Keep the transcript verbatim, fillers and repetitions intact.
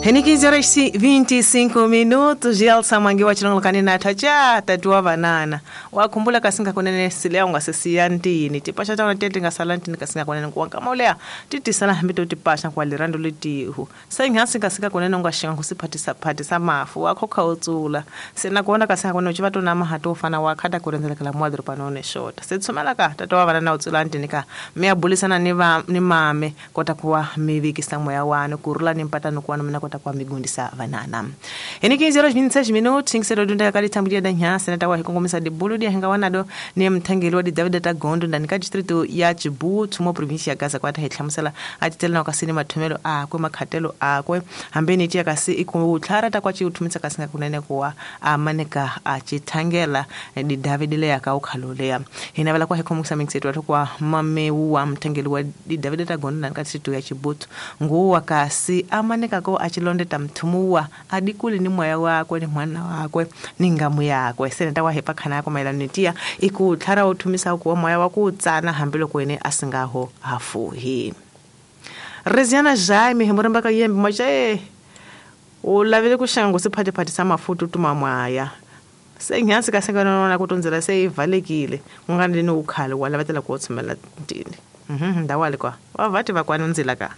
Ni quinze horas e vinte e cinco minutos Gelsa Mwangi wa chilongolokani na thacha tatuwa vanana wakhumbula kasinga kunene silea ungasesiya ntini tipasha taona tete ngasala ntini kasinga kunene kuwanka maulea titisala hambi to tipasha kwa lirando letihu senghasi kasinga kunene ungashinga kusiphathisa phathisa mafu wakhokha utsula sena kuona kasinga kunene uchivato na mahato ufana wakhata kurenzelekela mwadro panone shota setsumela ka tatuwa vanana utsula ntini ka miyabulisana ni va ni mame kota kuwa mivikisa moya wanu kurula ni mpatano kuwanu mina kota kwa migundisa vanana. Eni quinze horas vinte e seis minutos, cinco dunda kali tambulia da nyansa na tawa hikongomisa de bulu dia hinga wanado ni mthangeli wa di David Tagondo ndani ka distrito ya Chibutu mo province ya Gaza kwata hihlamusela atitela kasi ni mathomelo akwe makhatelo akwe hambeni tia kasi ikutlhara ta kwa chiuthumisa kasi kunene kuwa amaneka achithangela di David le ya ka ukhalolea. Hina vala kwa hikomisa mixetu watu kwa mamewu wa mthangeli wa di David Tagondo ndani ka distrito ya Chibutu nguwa kasi amaneka ko achilonde tamthumuwa adikuli ni moya wakwe ni mwana wakwe ni ngamu yakwe seneta wa hepa khana yako maelano nitia ikutlhara uthumisa kuwa moya wa kutsana hambiloko ene asingaho hafuhi. Reziana Jaime hemoramba ka yembe maje u lavile ku xango siphathiphathisa mafutu tuma mwaya senghasi ka senganona ku tundzela se ivalekile ku nga ni ukhale wa lavatela ku tshumela ntini mhm ndawale kwa wa vati va kwana ndzila ka.